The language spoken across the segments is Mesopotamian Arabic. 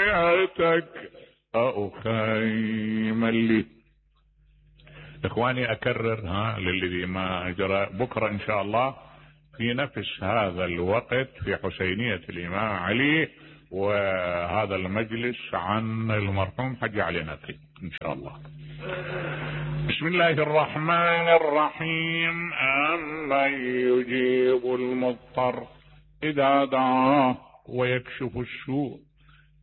حياتك أخيم لي. إخواني أكرر للذي ما جرى، بكرة إن شاء الله في نفس هذا الوقت في حسينية الإمام علي، وهذا المجلس عن المرحوم حج علي نقي إن شاء الله. بسم الله الرحمن الرحيم. أمن يجيب المضطر إذا دعاه ويكشف السوء.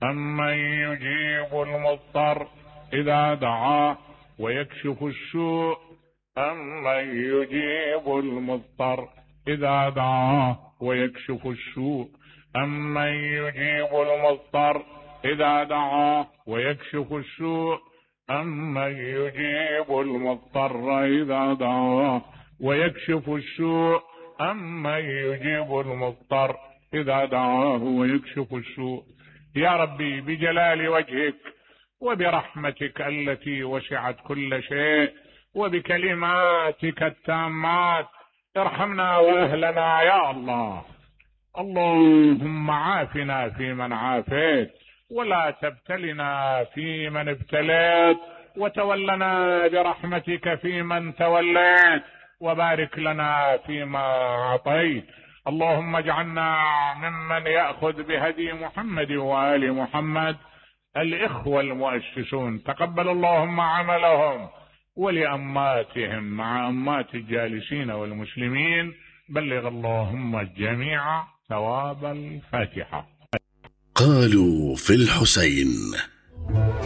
أمن يجيب المضطر إذا دعاه ويكشف السوء. أمن يجيب المضطر إذا دعاه ويكشف السوء. أمن يجيب المضطر إذا دعاه ويكشف السوء. أمن يجيب المضطر إذا دعاه ويكشف السوء. أمن يجيب المضطر إذا دعاه ويكشف السوء. يا ربي بجلال وجهك وبرحمتك التي وسعت كل شيء وبكلماتك التامات ارحمنا وأهلنا يا الله. اللهم عافنا فيمن عافيت، ولا تبتلنا فيمن ابتليت، وتولنا برحمتك فيمن توليت، وبارك لنا فيما أعطيت. اللهم اجعلنا ممن يأخذ بهدي محمد وآل محمد. الإخوة المؤسسون تقبل اللهم عملهم، ولأماتهم مع أمات الجالسين والمسلمين بلغ اللهم الجميع ثواب الفاتحة. قالوا في الحسين